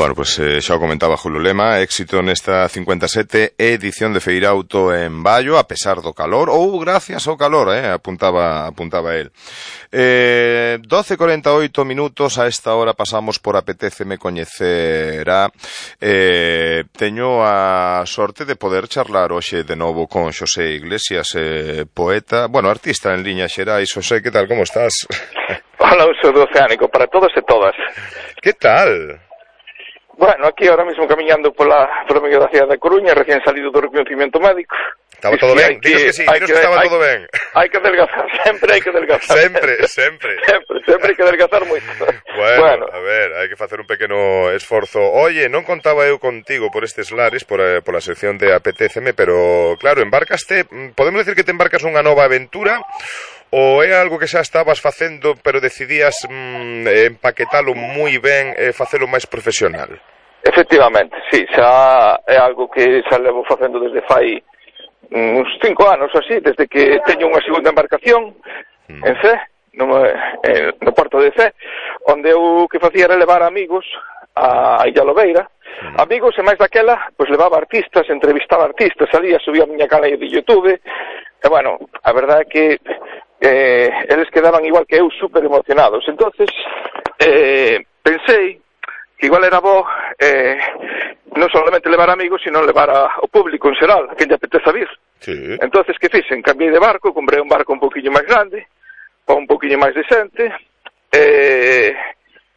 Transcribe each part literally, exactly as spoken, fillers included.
Bueno, pois pues, eh, xa o comentaba Julio Lema, éxito nesta cincuenta e sete edición de Feirauto en Baio, a pesar do calor, ou gracias ao calor, eh, apuntaba, apuntaba el. Eh, doce e corenta e oito minutos, a esta hora pasamos por Apetéceme coñecer a... Eh, teño a sorte de poder charlar hoxe de novo con Xosé Iglesias, eh, poeta, bueno, artista en liña xerais. Xosé, que tal, como estás? Hola, un saúdo oceánico para todos e todas. Que tal? Bueno, aquí ahora mismo camiñando pola, pola medio da cidade da Coruña, recién salido do reconhecimiento médico. Estaba todo ben, dinos que sí, dinos que, que estaba hai, todo ben. Hai que adelgazar, sempre hai que adelgazar. Sempre, sempre. Sempre, sempre hai que adelgazar moito. Bueno, bueno, a ver, hai que facer un pequeno esforzo. Oye, non contaba eu contigo por estes lares, por, eh, por a sección de Apetéceme, pero claro, embarcaste, podemos decir que te embarcas unha nova aventura, ou é algo que xa estabas facendo, pero decidías mm, empaquetalo moi ben e facelo máis profesional? Efectivamente, sí, xa é algo que xa levo facendo desde fai uns cinco anos ou así, desde que teño unha segunda embarcación mm. en Cee, no, eh, no porto de Cee, onde eu que facía era levar amigos a Illa Lobeira, mm. amigos, e máis daquela, pois levaba artistas, entrevistaba artistas, salía, subía a miña canal de YouTube, e bueno, a verdade é que eh, eles quedaban igual que eu, super emocionados. Entonces, eh, pensei que igual era bo eh, non solamente levar amigos, sino levar ao público en xeral, a quen lle apeteza vir. Sí. Entonces, que fixen? Cambiei de barco, comprei un barco un poquinho máis grande, un poquinho máis decente, e,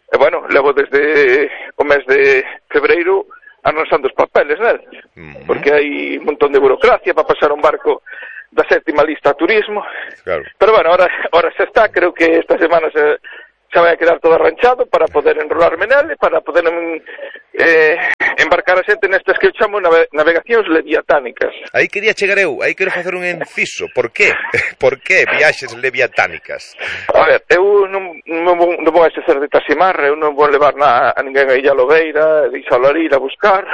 e bueno, levo desde o mes de febreiro arransando os papeles nel, mm-hmm. porque hai un montón de burocracia para pasar un barco da sétima lista a turismo, claro. Pero bueno, ahora, ahora xa está, creo que esta semana se... xa vai a quedar todo arranchado para poder enrolarme nele, para poder eh, embarcar a xente nestas que eu chamo nave navegacións leviatánicas. Aí quería chegar eu, aí quero facer un inciso. Por qué? Por qué viaxes leviatánicas? A ver, eu non, non, non vou a exercer de taximar, eu non vou levar na, a ninguén a Illa Lobeira, de Isalo ir a buscar,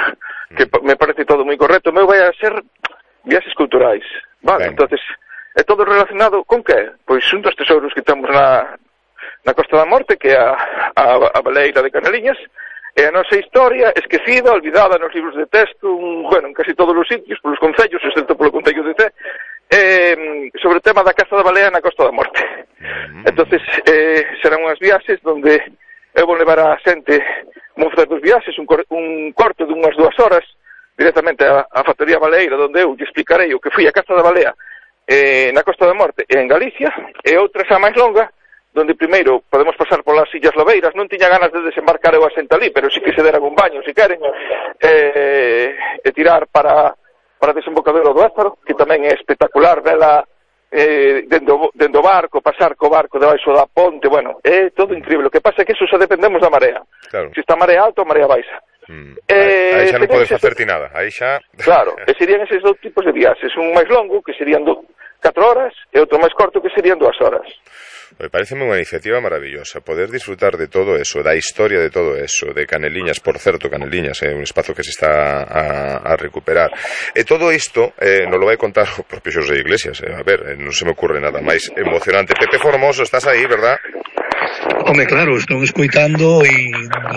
mm. que me parece todo moi correcto. O meu vai a ser viaxes culturais, vale? Ben. Entonces, é todo relacionado con que? Pois un dos tesouros que temos na... na Costa da Morte, que é a, a, a baleira de Caneliñas, e a nosa historia esquecida, olvidada nos libros de texto, un, bueno, en casi todos os sitios, polos concellos, excepto polo concello de Cee, eh, sobre o tema da caza da balea na Costa da Morte. Mm. Entonces, eh, serán unhas viaxes donde eu vou levar a xente, vou facer dos viaxes, un, cor, un corte de unhas dúas horas, directamente a, a factoría baleira, donde eu lle explicarei o que foi a caza da balea eh, na Costa da Morte e en Galicia, e outra xa máis longa, donde primeiro podemos pasar polas Illas Lobeiras. Non tiña ganas de desembarcar eu a xente ali, pero sí que se deran un baño, se queren, eh, e tirar para, para desembocadero do Ézaro, que tamén é espectacular, vela eh, dendo, dendo barco, pasar co barco debaixo da ponte, bueno, é todo increíble. O que pasa é que eso xa dependemos da marea. Claro. Se está marea alta ou marea baixa. Mm. Eh, aí xa non podes facer ti nada, aí xa... Claro, e serían eses dous tipos de viaxes, un máis longo, que serían do, catro horas, e outro máis corto, que serían dúas horas. Me parece unha iniciativa maravillosa poder disfrutar de todo eso, da historia de todo eso, de Caneliñas, por certo, Caneliñas é un espazo que se está a, a recuperar, e todo isto eh, nos lo vai contar o propio Xosé Iglesias, eh, a ver, eh, non se me ocurre nada máis emocionante. Pepe Formoso, estás aí, verdad? Home, claro, estou escoitando e,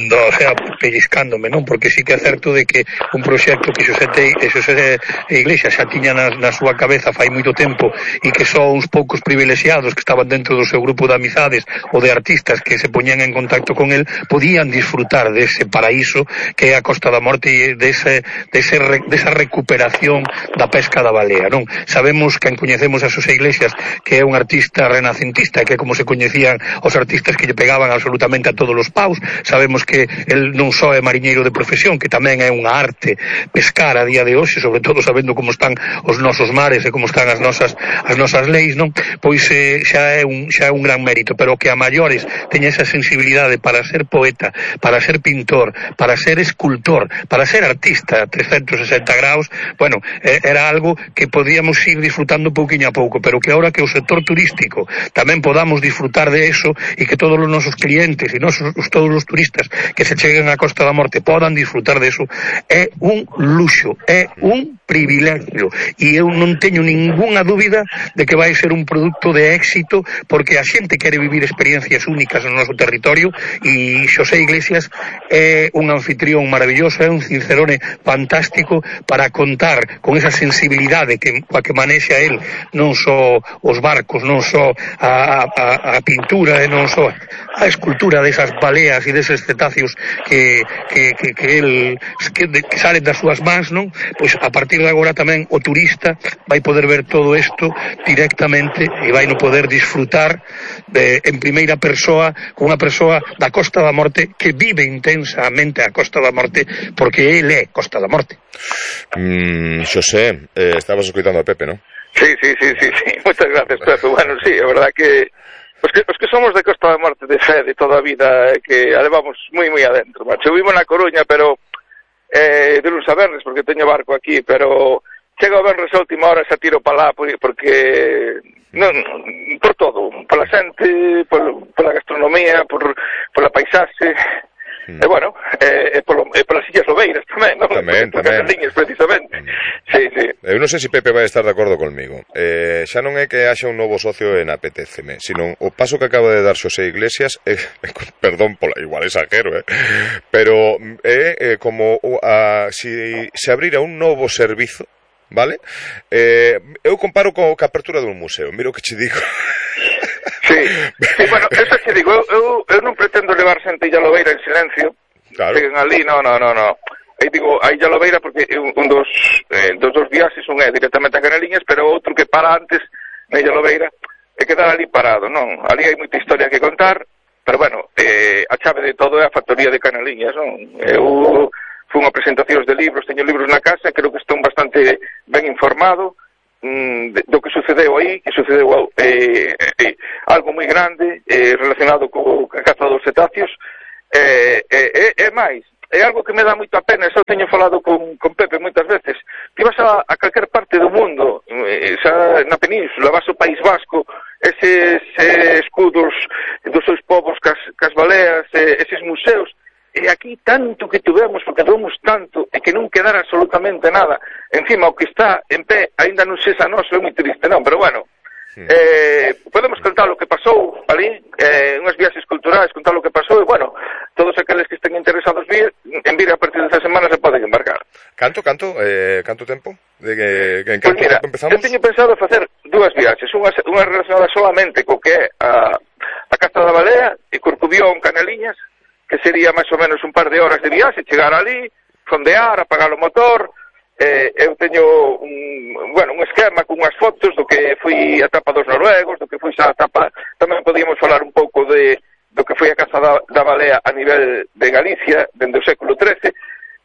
o sea, pellizcándome, non? Porque sí que é certo de que un proxecto que Xosé, Te, Xosé Iglesias xa tiña na, na súa cabeza fai moito tempo e que só uns poucos privilexiados que estaban dentro do seu grupo de amizades ou de artistas que se poñían en contacto con el podían disfrutar dese paraíso que é a Costa da Morte e dese, dese, desa recuperación da pesca da balea, non? Sabemos que coñecemos a Xosé Iglesias, que é un artista renacentista, que é como se coñecían os artistas que lle pegaban absolutamente a todos os paus. Sabemos que el non só é mariñeiro de profesión, que tamén é unha arte pescar a día de hoxe, sobre todo sabendo como están os nosos mares e como están as nosas as nosas leis, non? Pois eh, xa é un xa é un gran mérito, pero que a maiores teña esa sensibilidade para ser poeta, para ser pintor, para ser escultor, para ser artista a trescentos e sesenta graus, bueno, eh, era algo que podíamos ir disfrutando pouquiño a pouco, pero que ahora que o sector turístico tamén podamos disfrutar de eso e que todos os nosos clientes e nosos, todos os turistas que se cheguen á Costa da Morte podan disfrutar de eso, é un luxo, é un privilegio, e eu non teño ningunha dúbida de que vai ser un produto de éxito, porque a xente quere vivir experiencias únicas no noso territorio, e Xosé Iglesias é un anfitrión maravilloso, é un Cicerone fantástico para contar con esa sensibilidade que, coa que manexa el non só os barcos, non só a, a, a pintura e non só a escultura desas baleas e deses cetáceos que, que, que, que el que, que salen das súas mans, non? Pois a partir de agora tamén o turista vai poder ver todo isto directamente e vai no poder disfrutar de, en primeira persoa con unha persoa da Costa da Morte que vive intensamente a Costa da Morte porque ele é Costa da Morte. Mm, Xosé, eh, estabas escoitando a Pepe, non? Sí, sí, sí, sí, sí. Muchas gracias, Pepe. Bueno, sí, é verdad que os que, os que somos de Costa da Morte de fe de toda a vida, eh, que a levamos moi, moi adentro, macho. Eu vivo na Coruña, pero eh, de luns a vernes, porque teño barco aquí, pero chega o vernes a última hora xa tiro para lá, porque non, por todo, pola xente, por, pola gastronomía, por, pola paisaxe. Mm. E bueno, e, e, polo, e polas Illas Lobeiras tamén, non? Tamén, tamén. Canaliñas, precisamente. Mm. Sí, sí. Eu non sei se Pepe vai estar de acordo conmigo. Eh, xa non é que haxa un novo socio en Apetéceme, sino o paso que acaba de dar Xosé Iglesias, eh, perdón, pola, igual exagero, eh, pero é eh, como a, si se abrira un novo servizo, vale? Eh, eu comparo co, co apertura dun museo, miro que che digo. Sí, sí, bueno, eso che digo, eu, eu, eu non pretendo levar xente Illa Lobeira en silencio, claro. Seguen ali, no, no, no, no. Aí digo, a Illa Lobeira porque un, un dos, eh, dos dos viaxes, un é directamente a Canaliñas, pero outro que para antes na Illa Lobeira é quedar ali parado, non? Ali hai moita historia que contar, pero bueno, eh, a chave de todo é a factoría de Canaliñas, non? Eu fun a presentacións de libros, teño libros na casa, creo que estou bastante ben informado do que sucedeu aí, que sucedeu eh, eh, algo moi grande eh, relacionado co a caza dos cetáceos e eh, eh, eh, máis, é algo que me dá moita pena, xa teño falado con, con Pepe moitas veces, ti vas a, a calquer parte do mundo, eh, xa na península, vas ao País Vasco, eses eh, escudos dos seus povos cas, cas baleas, eh, eses museos, e aquí tanto que tuvemos, porque tuvemos tanto, e que non quedara absolutamente nada. Encima, o que está en pé, ainda non sexa noso, é moi triste, non? Pero bueno, sí. eh, podemos contar o que pasou ali, eh, unhas viaxes culturais, contar o que pasou, e bueno, todos aqueles que estén interesados vir, en vir a partir desta semana se poden embarcar. Canto, canto, eh, canto tempo? De que, que en canto pues mira, tempo empezamos? Eu teño pensado facer dúas viaxes, unha, unha relacionada solamente co que é a, a Caza da Balea e Corcubión, Canaliñas, que sería máis ou menos un par de horas de viaxe, chegar ali, fondear, apagar o motor. Eh, eu teño un, bueno, un esquema con unhas fotos do que foi a etapa dos noruegos, do que foi xa a etapa, tamén podíamos falar un pouco de do que foi a caza da, da balea a nivel de Galicia, dende o século trece,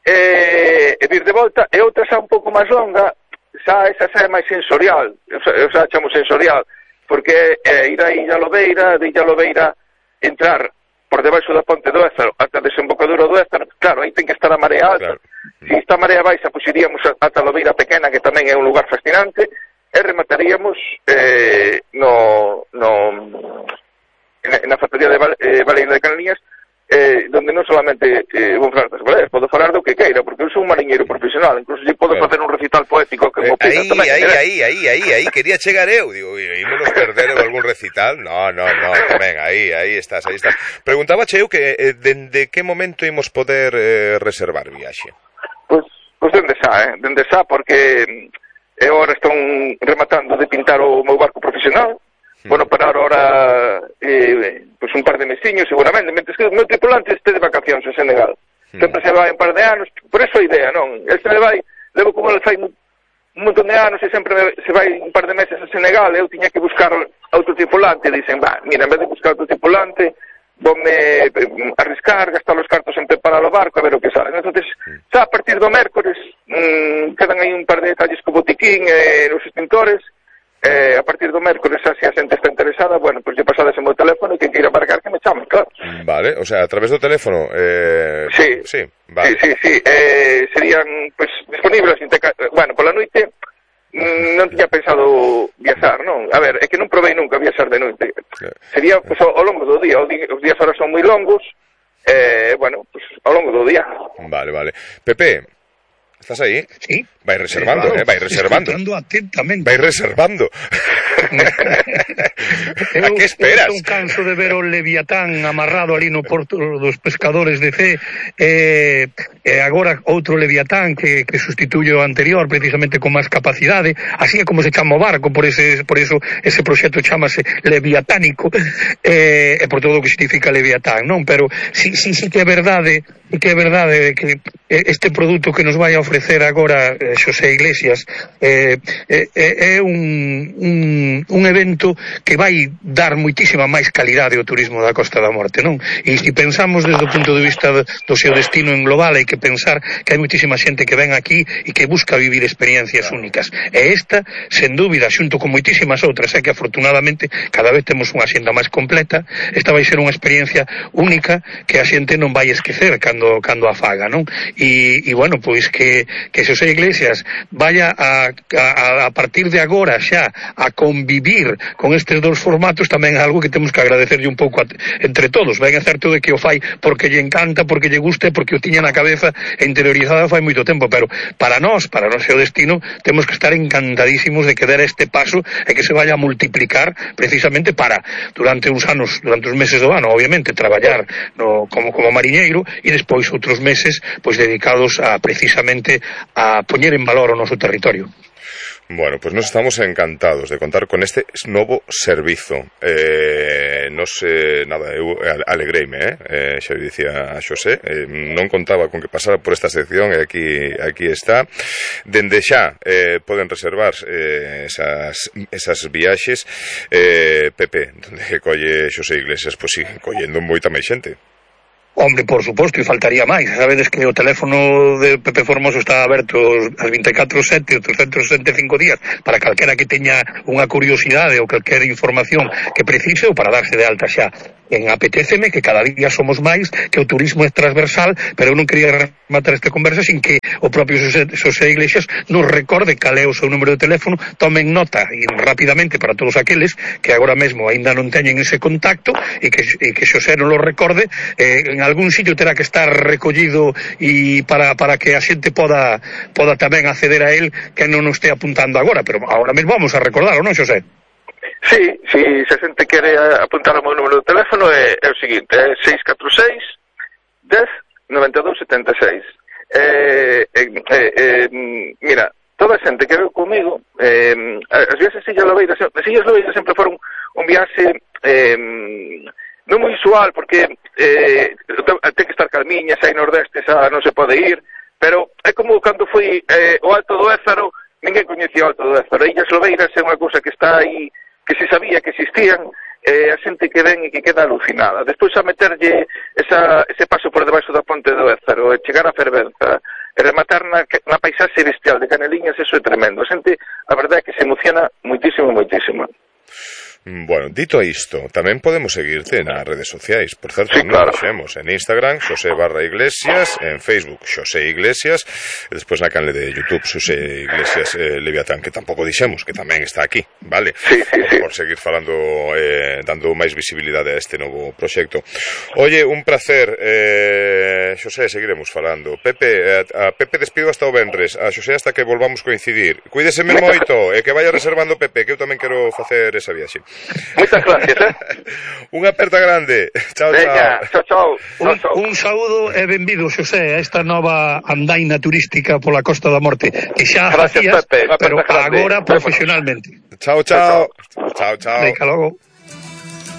e, e vir de volta, e outra xa un pouco máis longa, xa esa xa é máis sensorial, eu xa, eu xa chamo sensorial, porque é ir a Illa Lobeira, de Illa Lobeira entrar por debaixo da ponte do Ézaro ata a desembocadura do Ézaro, claro, aí ten que estar a marea alta. Claro. Se está a marea baixa, pois iríamos ata a Lobeira Pequena, que tamén é un lugar fascinante, e remataríamos eh, no, no, na factoría de Val, eh, Baleira de Canaliñas, eh, donde non solamente eh, vou falar das baleas, podo falar do que queira, porque eu sou un mariñeiro profesional, incluso se podo bueno. facer un recital poético que eh, mo pida tamén. Aí, aí, aí, aí, aí, quería chegar eu, digo, ímonos perder algún recital, no, no, no, tamén, aí, aí estás, aí estás. Preguntaba eu que eh, dende que momento imos poder eh, reservar viaxe? Pois, pois dende xa, eh, dende xa, porque eu agora estou rematando de pintar o meu barco profesional. Bueno, parar ahora eh, pues un par de mesiños seguramente, mentre que o meu tripulante este de vacacións en Senegal. Mm. Sempre se vai un par de anos, por eso a idea, non? Este le vai, levo como ele fai un montón de anos e sempre se vai un par de meses a Senegal, eu tiña que buscar outro tripulante, e dicen, va, mira, en vez de buscar outro tripulante, vome arriscar, gastar os cartos en preparar o barco, a ver o que sale. Entonces, xa a partir do mércores, mmm, quedan aí un par de detalles co botiquín e os extintores. Eh, a partir do mércores, xa se a xente está interesada, bueno, pois pues, lle pasades o meu teléfono e quen queira marcar que me chame, claro. Vale, o sea, a través do teléfono eh... Sí, sí, vale. sí, sí, sí. Eh, serían, pues, disponibles bueno, pola noite mm, non tiña pensado viaxar, non? A ver, é que non provei nunca viaxar de noite. Sería, pues, ao, ao longo do día, os días ahora son moi longos, eh, bueno, pues, ao longo do día. Vale, vale. Pepe, ¿estás ahí? Sí. Vais reservando, sí, claro. eh, vais reservando. Atentamente. Vais reservando. A que esperas? Eu son canso de ver o Leviatán amarrado ali no porto dos pescadores de Cee, e, e agora outro Leviatán que, que sustituye o anterior precisamente con máis capacidade, así é como se chama o barco, por, ese, por eso ese proxecto chamase Leviatánico, e, e por todo o que significa Leviatán, non? Pero si, si, si que é verdade, que é verdade que este produto que nos vai a ofrecer agora Xosé Iglesias é, é, é un, un, un evento que vai dar moitísima máis calidade ao turismo da Costa da Morte, non? E se pensamos desde o punto de vista do seu destino en global, hai que pensar que hai moitísima xente que ven aquí e que busca vivir experiencias únicas. E esta, sen dúbida, xunto con moitísimas outras, é que afortunadamente cada vez temos unha xenda máis completa, esta vai ser unha experiencia única que a xente non vai esquecer cando, cando a faga, non? E, e bueno, pois que, que Xosé Iglesias vaya a, a, a partir de agora xa a convivir con estes dous formatos tamén é algo que temos que agradecerlle un pouco a, entre todos. Ben é certo de que o fai porque lle encanta, porque lle guste, porque o tiña na cabeza interiorizada fai moito tempo, pero para nós, para o noso destino, temos que estar encantadísimos de que der este paso e que se vaya a multiplicar precisamente para, durante uns anos, durante os meses do ano, obviamente, traballar no, como, como mariñeiro e despois outros meses pois dedicados a precisamente a poñer en valor o noso territorio. Bueno, pues nos estamos encantados de contar con este novo servizo. Eh, nos, eh, nada, eu alegreime, eh? eh xa dicía a Xosé, eh, non contaba con que pasara por esta sección e aquí, aquí está. Dende xa eh, poden reservar eh, esas, esas viaxes. Eh, Pepe, donde colle Xosé Iglesias, pois pues sigue collendo moita máis xente. Hombre, por suposto, e faltaría máis. Sabedes que o teléfono de Pepe Formoso está aberto as vinte e catro sete, os trescentos sesenta e cinco días para calquera que teña unha curiosidade ou calquera información que precise ou para darse de alta xa. En apetéceme que cada día somos máis, que o turismo é transversal, pero eu non quería rematar esta conversa sin que o propio Xosé, Xosé Iglesias nos recorde cal é o seu número de teléfono, tomen nota e rapidamente para todos aqueles que agora mesmo aínda non teñen ese contacto e que, e que Xosé non lo recorde, eh, en algún sitio terá que estar recollido e para, para que a xente poda, poda tamén acceder a él que non nos este apuntando agora, pero agora mesmo vamos a recordarlo, non, Xosé? Sí, si se a xente quere apuntar o meu número de teléfono é, é o seguinte, é seis catro seis, dez, noventa e dous, setenta e seis. Eh, eh, eh, mira, toda a xente que veu comigo, eh, as viaxes Illas Lobeiras, as Illas Lobeiras sempre foron un viaxe eh, non moi usual, porque eh, ten que estar calmiña, xa hai nordeste, xa non se pode ir, pero é como cando foi eh, o Alto do Ézaro, ninguén coñecía o Alto do Ézaro. Illas Lobeiras é unha cousa que está aí, que se sabía que existían, eh, a xente que ven e que queda alucinada. Despois a meterlle esa, ese paso por debaixo da ponte do Ézaro, e chegar a Fervenza, e rematar na, na paisaxe bestial de Caneliñas, eso é tremendo. A xente, a verdade é que se emociona moitísimo, moitísimo. Bueno, dito isto, tamén podemos seguirte nas redes sociais. Por certo, sí, non claro. Dixemos en Instagram, Xosé barra Iglesias, en Facebook, Xosé Iglesias, e despois na canle de YouTube, Xosé Iglesias eh, Leviatán, que tampouco dixemos, que tamén está aquí, vale? Sí, sí, sí. Por seguir falando, eh, dando máis visibilidade a este novo proxecto. Oye, un placer, eh, Xosé, seguiremos falando. Pepe, a, a Pepe despido hasta o venres, a Xosé hasta que volvamos coincidir. Cuídeseme moito, e que vaya reservando Pepe, que eu tamén quero facer esa viaxe. Moitas gracias, eh? Unha aperta grande. Chao, Venga, chao, chao. Un, chao, chao. un saúdo e benvido, Xosé, a esta nova andaina turística pola Costa da Morte, que xa Gracias, facías, Pepe. pero Grande. agora profesionalmente. Chao, chao. Chao, chao. Venga, logo.